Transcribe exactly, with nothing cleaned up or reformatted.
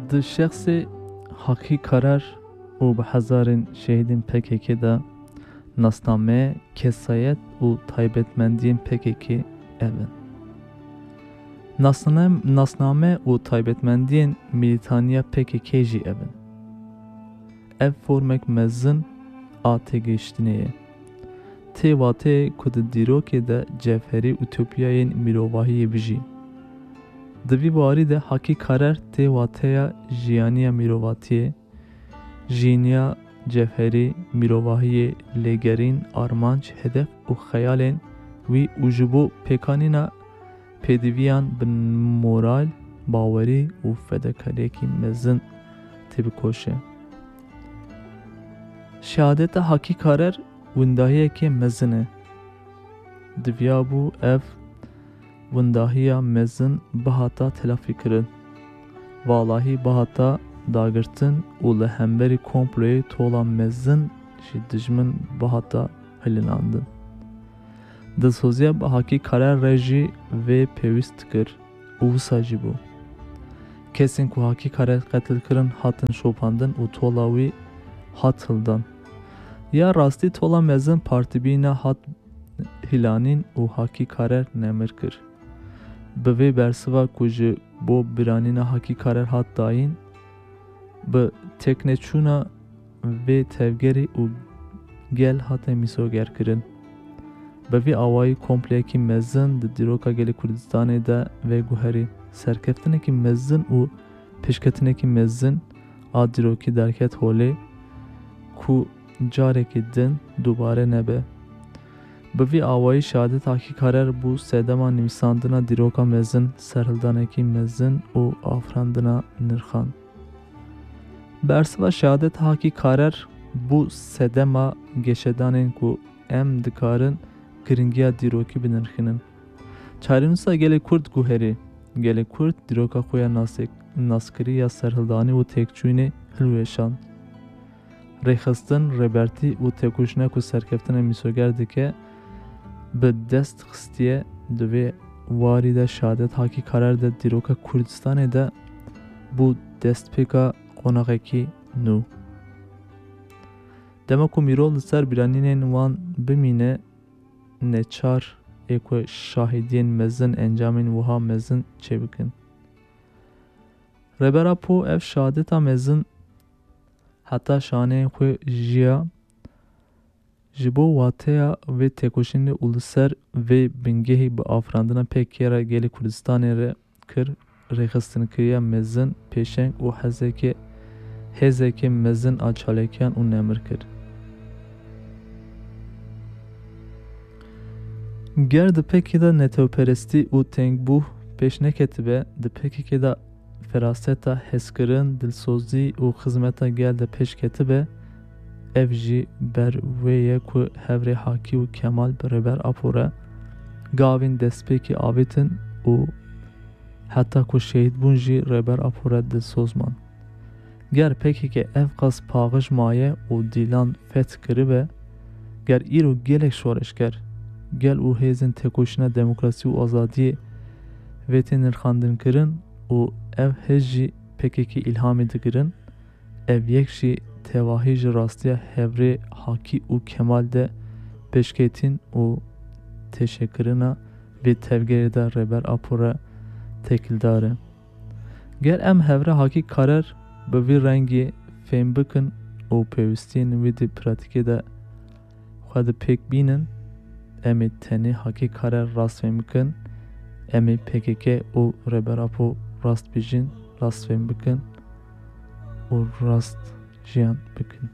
Di şexsê Hakî Karar û bi hezarên şehîdên P K K de nasname, kesayet û taybetmendiyên P K K ev in. Nasname, nasname û taybetmendiyên milîtaniya P K K jî ev in. Ev formek mezin a têgihiştinê ye. Tê wateyê ku di dîrokê de cevherî utopiyayên mirovahiyê bijî. Di vî warî de Hakî Karer tê wateya jiyaniya mirovatiyê, jiyîniya cevherî, mirovahiyê, lêgerîn, armanc, hedef û xeyalên wî û ji bo pêkanîna pêdiviyan bi moral, bawerî û fedakariyekî mezin têbikoşe. Şehadeta Hakî Karer windahiyekê mezin e. Diviyabû ev windahiya mezin bihata telafîkirin. Valahî bihata dagirtin û li hemberî komployê tola mezin ji dijmin bihata hilinandin. Dilsoziya bi Hakî Karer re jî vê pêwîst dikir û wisa jî bû. Kesên ku Hakî Karer qetil kirin hatin şopandin û tola wî hat hildan. Ya rastî tola mezin partibîna hat hilanîn û Hakî Karer nemir kir. Bi vê bersiva ku ji bo biranîna Hakî Karer hat dayîn, bi tekneçûna vê tevgerê û gel hate mîsogerkirin. Bi vî awayî kompleyekî mezin di dîroka gelê Kurdistanê de veguherî. Serkeftinekî mezin û pêşketinekî mezin a dîrokî derket holê ku carekî din dubare nebe. Bi vî awayî şehadet Hakî Karer bû sedema nivîsandina dîroka mezin, serhildanekî mezin û afirandina nirxan. Bersiva şehadet Hakî Karer bû sedema geşedanên ku em dikarin giringiya dîrokî binirxînin. Çarenûsa gelê Kurd guherî. Gelê Kurd dîroka xwe ya nasek-, naskirî ya serhildanî û têkçûyînê hilweşand. Rêxistin, rêbertî û têkoşîna ku serkeftinê mîsoger dike, bi dest xistiye. Di vê warî de şehadet Hakî Karer de dîroka Kurdistanê de bû destpêka qonaxekî nû. Dema ku mirov li ser bîranînên wan bimîne, neçar ê ku şahidiyên mezin encamên wiha mezin çêbikin. Rêber Apo ev şehadeta mezin heta şaneyên xwe jiya. Ji bo wateya vê têkoşînê û li ser vê bingehî bi afirandina P K K re gelê Kurdistanê re kir, rêxistinkiriya mezin, pêşeng û hezekê, hêzekê mezin a çalakiyan û nemir kir. Ger di P K K de netewperestî û tengbûh pêş neketibe, di P K K de feraseta hezkirin, dilsozî û xizmeta gel de pêş ketibe, ev jî ber wê ye ku hevrê Hakî û Kemal bi Rêber Apo re gavên destpêkî avêtin û heta ku şehîd bûn jî Rêber Apo re dilsoz man. Ger P K K ev qas paxij maye û dîlan feth kiribe, ger îro gelek şoreşger, gel û hêzên têkoşîna demokrasî û azadiyê vê tê nirxandinkirin û ev hêz jî P K K îlhamê digirin, ev yek jî tevahî ji rastiya hevrê Hakî û Kemal de pêşketîn û têşekirina vê tevgerê de Rêber Apo re têkildar e. Ger em hevrê Hakî Karer bi vî rengî fêm bikin û pêwîstiyên wî di pratîkê de xwe di pêk bînin, em ê tenê Hakî Karer rast fêm bikin, em ê P K K û Rêber Apo rast bijîn, rast fêm bikin û rast jiyan bikin.